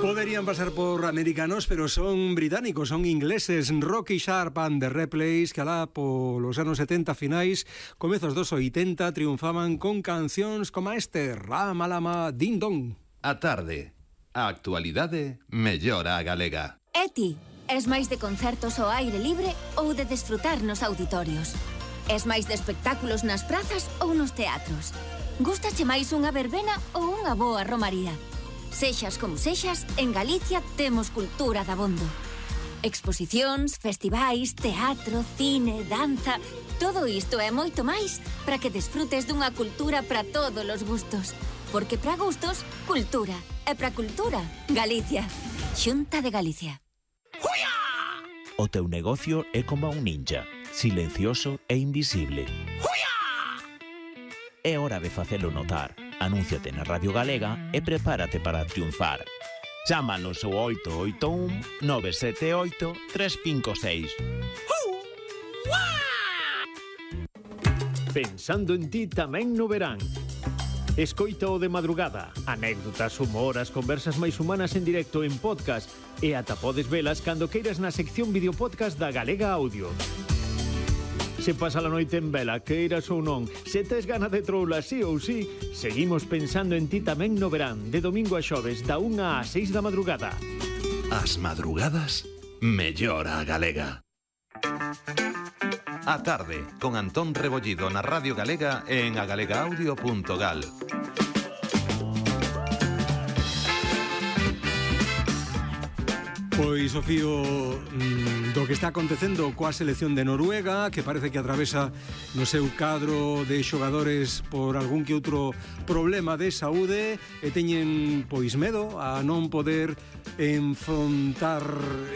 Poderían pasar por americanos, pero son británicos, son ingleses. Rocky Sharp and the Replays, que alá polos anos 70 finais, comezos dos 80, triunfaban con cancións como este, Rama Lama Din Don. A tarde, a actualidade mellora a galega. E ti, es máis de concertos ao aire libre ou de desfrutar nos auditorios? Es máis de espectáculos nas prazas ou nos teatros? Gústache máis unha verbena ou unha boa romaría? Sexas como sexas, en Galicia temos cultura dabondo. Exposicións, festivais, teatro, cine, danza... Todo isto e moito máis para que desfrutes dunha cultura para todos os gustos. Porque para gustos, cultura. E para cultura, Galicia. Xunta de Galicia. O teu negocio é como un ninja, silencioso e invisible. É hora de facelo notar. Anúnciate na Radio Galega e prepárate para triunfar. Chámanos ao 881 978 356. Pensando en ti tamén no verán. Escoita o de madrugada, anécdotas, humor, as conversas máis humanas en directo en podcast e ata podes velas cando queiras na sección videopodcast da Galega Audio. Se pasa a noite en vela, queiras ou non, se tes gana de troula sí ou sí, seguimos pensando en ti tamén no verán, de domingo a xoves, da 1 a 6 da madrugada. As madrugadas mellora a galega. A tarde, con Antón Rebollido na Radio Galega e en agalegaudio.gal. Pois o fío do que está acontecendo coa selección de Noruega, que parece que atravesa no seu cadro de xogadores por algún que outro problema de saúde e teñen pois medo a non poder enfrontar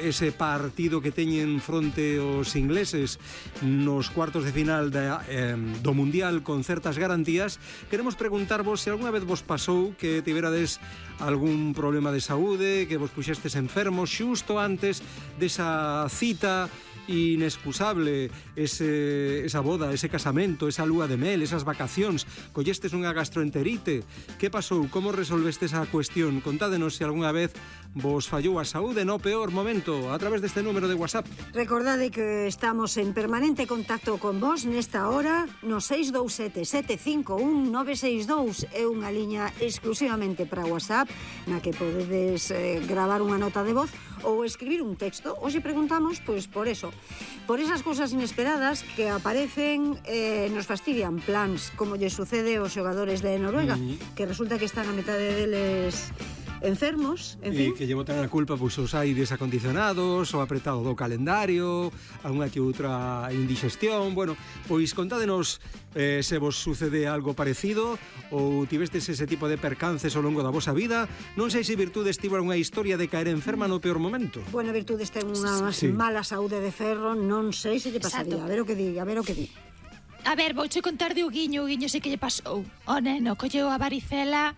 ese partido que teñen fronte aos ingleses nos cuartos de final do Mundial con certas garantías. Queremos preguntarvos se alguna vez vos pasou que tiverades algún problema de saúde, que vos puxestes enfermos xusto antes desa cita inexcusable, esa boda, ese casamento, esa lúa de mel, esas vacacións, collestes unha gastroenterite. Que pasou? Como resolvestes a cuestión? Contádenos se algunha vez vos fallou a saúde no peor momento a través deste número de WhatsApp. Recordade que estamos en permanente contacto con vos nesta hora no 627 751 962. É unha liña exclusivamente para WhatsApp na que podedes gravar unha nota de voz ou escribir un texto. Hoxe preguntamos, pois, por eso, por esas cousas inesperadas que aparecen nos fastidian plans, como lle sucede aos xogadores de Noruega, que resulta que están a metade deles enfermos, en fin. E que lle botan a culpa pois os aires acondicionados, o apretado do calendario, algunha que outra indigestión. Bueno, pois contádenos se vos sucede algo parecido ou tivestes ese tipo de percances ao longo da vosa vida. Non sei se Virtudes tivo unha historia de caer enferma no peor momento. Bueno, Virtudes ten unha mala saúde de ferro, non sei se lle pasaría. Exacto. A ver o que di. A ver, vouche contar de Uguiño sei que lle pasou. O neno colleu a varicela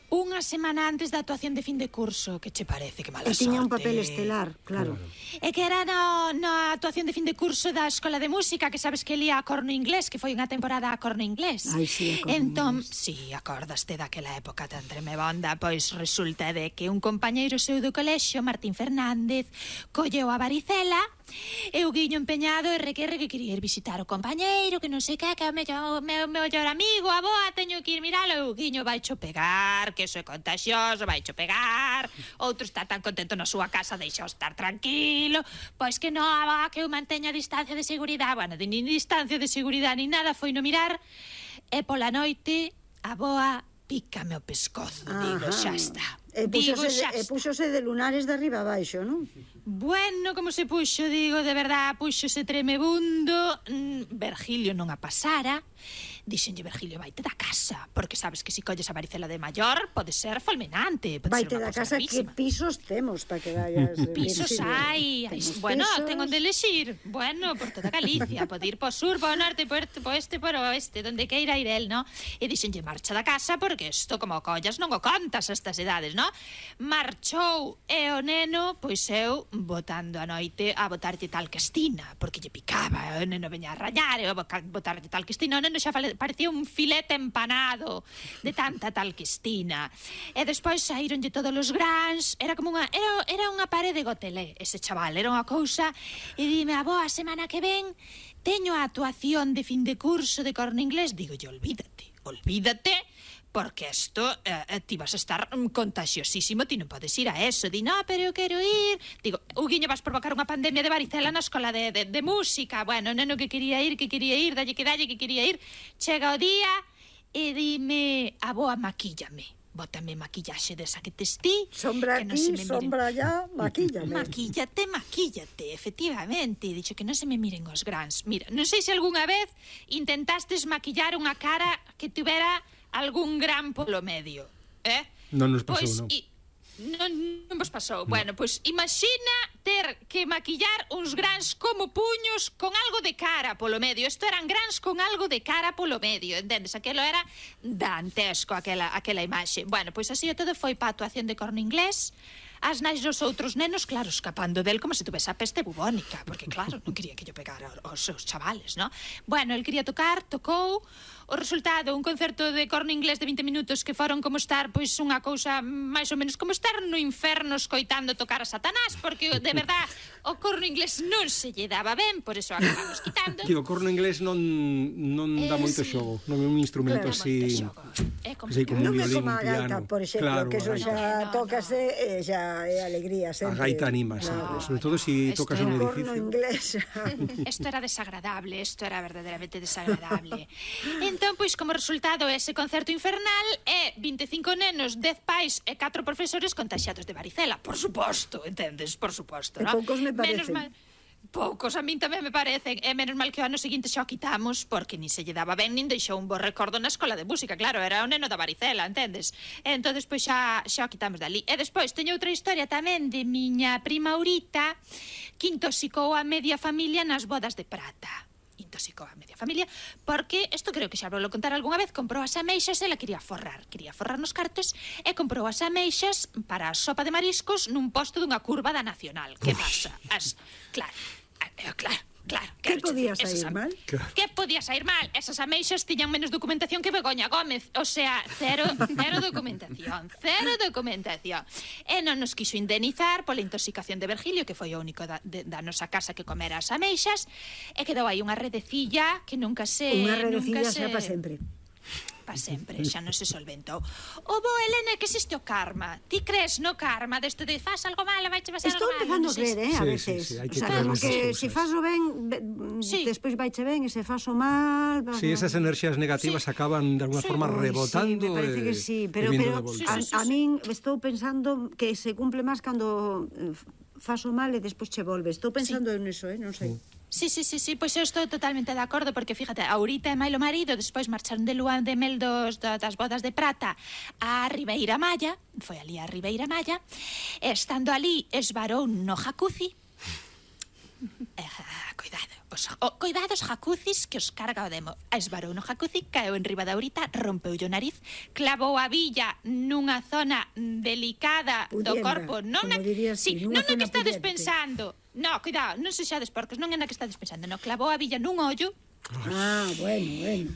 unha semana antes da actuación de fin de curso. Que che parece? Que mala sorte. E tiña un papel estelar, claro. É que era na actuación de fin de curso da Escola de Música, que sabes que lía a corno inglés, que foi unha temporada a corno inglés. Ai, sí, a corno inglés. Sí, acordaste daquela época tan tremebonda. Pois resulta de que un compañeiro seu do colexio, Martín Fernández, colleu a varicela e o Guiño empeñado e requerre que quería ir visitar o compañeiro, que non sei que é o meu mellor amigo, a boa, teño que ir miralo, e o Guiño vaicho pegar, que iso é contagioso, vaicho pegar, outro está tan contento na súa casa, deixa estar tranquilo, pois que non, que eu manteña a distancia de seguridade, bueno, nin distancia de seguridade, nin nada, foi no mirar, e pola noite, a boa pícame o pescozo, digo, xa está. E púxose de lunares de arriba abaixo, non? Bueno, como se puxo, digo, de verdad, púxose tremebundo. Virgilio non a pasara. Dixenlle, Virgilio, vaite da casa, porque sabes que se colles a varicela de maior pode ser fulminante, pode vaite ser da casa, que pisos temos para que vayas. Pisos hai, bueno, tengo onde elexir. Bueno, por toda Galicia, pode ir po sur, po norte, po este, por oeste, donde queira ir el, no? E dixenlle, marcha da casa, porque isto como collas non o contas a estas edades, no? Marchou e o neno, pois eu botando a noite a botarlle tal castina, porque lle picaba, o neno veña a rayar, e a botarlle tal castina, o neno xa parecía un filete empanado de tanta talquistina. E despois saíronlle todos os grans, era como unha parede gotelé ese chaval, era unha cousa, e dime, avó, a semana que ven teño a actuación de fin de curso de corno inglés. Digo, olvídate, porque isto ti vas a estar contagiosísimo, ti non podes ir a eso. Di, no, pero eu quero ir. Digo, Huguiño, vas provocar unha pandemia de varicela na escola de música. Bueno, neno que quería ir, dalle que quería ir. Chega o día e dime, avó, maquíllame. Bótame maquillaxe desa que tes ti. Sombra aquí, sombra allá, maquíllame. Maquíllate, efectivamente. Dixo que non se me miren os grans. Mira, non sei se algunha vez intentastes maquillar unha cara que tuvera algún gran polo medio, Non nos pasou, non. Non vos pasou. No. Bueno, pois imagina ter que maquillar uns grans como puños con algo de cara polo medio. Isto eran grans con algo de cara polo medio, entendes? Aquelo era dantesco, aquela imaxe. Bueno, pois así todo foi pa actuación de corno inglés. As nais dos outros nenos, claro, escapando del como se tuvese a peste bubónica, porque claro, non quería que yo pegara aos seus chavales, ¿no? Bueno, el quería tocar, tocou. O resultado, un concerto de corno inglés de 20 minutos que foron como estar, pois, unha cousa máis ou menos como estar no inferno escoitando tocar a Satanás, porque, de verdad, o corno inglés non se lle daba ben, por eso acabamos quitando. Que o corno inglés non dá moito xogo, non é un instrumento así... Non é como a gaita, por exemplo, que eso xa tocase e xa é alegría sempre. A gaita animas, sobre todo se tocas un edificio. Corno inglés. Isto era desagradable, isto era verdadeiramente desagradable. Entón, pois, como resultado, ese concerto infernal é 25 nenos, 10 pais e 4 profesores contagiados de varicela. Por suposto, entendes? Por suposto, non? Poucos me parecen. Poucos, a min tamén me parecen. E menos mal que o ano seguinte xa o quitamos, porque nin se lle daba ben, nin deixou un bo recordo na escola de música. Claro, era o neno da varicela, entendes? E entón, despois xa o quitamos dali. E despois teño outra historia tamén de miña prima Aurita, que intoxicou a media familia nas bodas de prata. Intoxicou a media familia, porque, isto creo que xa vou contar algunha vez, comprou as ameixas, ela quería forrar nos cartos, e comprou as ameixas para a sopa de mariscos nun posto dunha curva da Nacional. Que pasa? Claro. Que podía sair mal? Que podía sair mal? Esas ameixas tiñan menos documentación que Begoña Gómez. O sea, cero documentación. E non nos quiso indemnizar pola intoxicación de Virgilio, que foi o único da nosa casa que comera as ameixas, e quedou aí unha redecilla que nunca se... Unha redecilla xa pa sempre. Pa sempre, xa non se solventou. O bo, Helena, que existe o karma. Ti crees no karma desto de faz algo malo, vai che pasar algo malo? Estou empezando a creer, a veces. Sí, hai que creer que se faz o ben, despois vai che ben, e se faz o mal... Sí, esas enerxías negativas acaban de alguna forma rebotando. Sí, me parece que sí, pero a min estou pensando que se cumple máis cando faz o mal e despois che volve. Estou pensando en eso, non sei. Sí, pois eu estou totalmente de acordo, porque fíjate, Aurita e Mailo marido despois marcharon de lúa de mel das bodas de prata a Ribeira Maya, foi ali a Ribeira Maya, e estando ali esvarou no jacuzzi. Cuidado os jacuzzis que os carga o demo. Esvarou no jacuzzi, caeu en riba da Aurita, rompeulle o nariz, clavou a villa nunha zona delicada do corpo, non na que estades pensando. No, cuidado, non se xades porcos, non é na que estades pensando, no, clavou a villa nun ollo. Bueno.